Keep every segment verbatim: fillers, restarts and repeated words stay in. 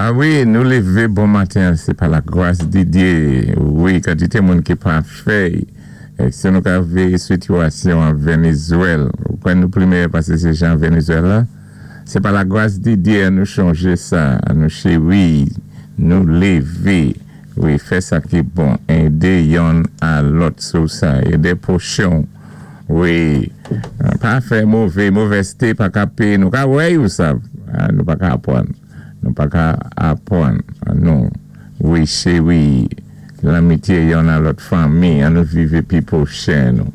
Ah wi, nou lévé bon maten, sé pa la gwas di Dye. Wi, kantité moun ki pa fèy. Si nou ka véyé sitiyasyon an Vénézwèl, ou kwè nou pli méyè pasé sé jan Vénézwèl la, sé pa la gwas di Dye an nou chanjé sa, an nou chéwi, nou lévé, wi, fè sa ki bon, édé youn a lòt sou sa, édé pwochen, wi, pa fè mové, movèzté pa ka péyé, nou ka wè yo sa, nou pa ka apwann. Nou pa ka apwann, nou, wi, chéwi, lanmityé youn a lòt fanmi, an nou viv épi pwochen nou.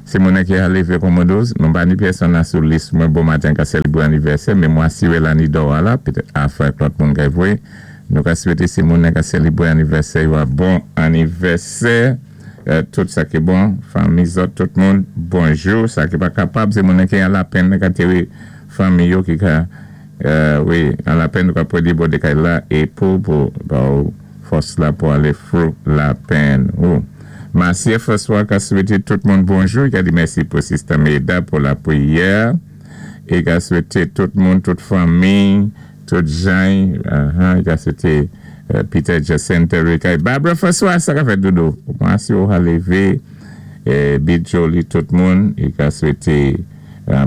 Si moun ki a lévé Commodores, mwen pa ni pèsonn sou lis mwen bon maten ka sélébwé anivèsè, men mwen asiwé la ni do la, petèt afè lòt moun ka vwé. Nou ka swété si moun ka sélébwé anivèsè, yo a bon anivèsè, tout sa ki bon, fanmi zòt, tout moun, bonjou, sa ki pa kapab, sé moun ki an lapenn, ka téwé fanmi yo ki ka wi, an lapenn nou ka pwédi bò dé kay la, é pou pou ba ou fòs la pou alé through lapenn ou. Marcia François ka swété tout moun bonjou, i ka di mèsi pou Sister Meda pou lapriyè, é ka swété tout moun, tout fanmi, tout jan, i ka swété Peter Jacinta Ricay. Barbara François, sa ka fèt doudou. Marcia ou ha lévé, Bit Jolie, tout moun, i ka swété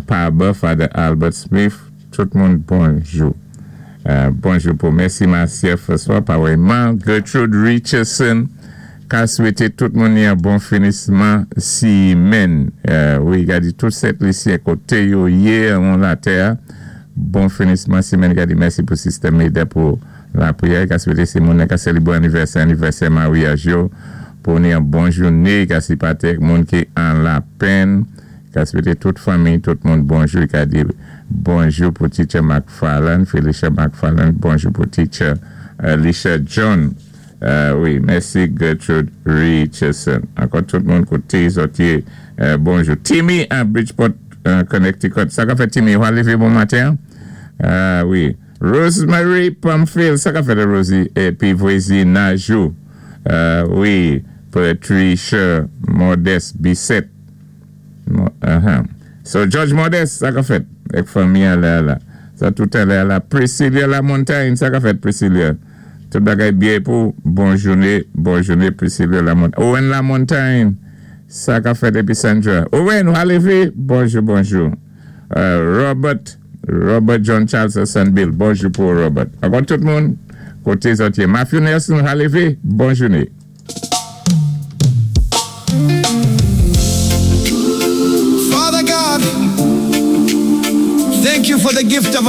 Paba, Father Albert Smith, tout moun bonjou. Bonjou pou mèsi Marcia François, pawèman Gertrude Richardson, ka swété tout moun yon bon finisman simenn. Wi, gadi tout Sent Lisyen koté yo yé an latè. Bon finisman simenn, gadi mèsi pou Sister Meda pou lapriyè. Ka swété si moun ka sélébwé anivèsè, anivèsè maryaj yo, pou ni yon bon jouné, ka sipaté moun ki an lapenn. Ka swété tout fanmi, tout moun bonjou. Ka di bonjou pou Teacher McFarland, Felicia McFarland, bonjou pou Teacher Alicia John. Wi, mèsi Gertrude Richardson. Ankò tout moun koté zòt yé, bonjou. Timmy an Bridgeport, Connecticut. Sa ka fèt Timmy, ou a lévé bon maten? Wi. Rosemary Pamphile, sa ka fèt Rosie, épi vwazinaj ou. Wi, Patricia Modeste Bissett. So, George Modeste, sa ka fèt. Ek fanmi alè la. Sa tout alè la. Priscilla La Montagne, sa ka fèt Priscilla. Tout bagay byen pou bon jouné, bon jouné Priscilla La Montagne. Owen La Montagne, sa ka fèt épi Sandra. Owen, ou a lévé? Bonjou, bonjou. Robert, Robert John Charles Sanbill, bonjou pou Robert. Ankò tout moun, koté zòt yé. Matthew Nelson, ou a lévé? Bon jouné. Father God, thank you for the gift of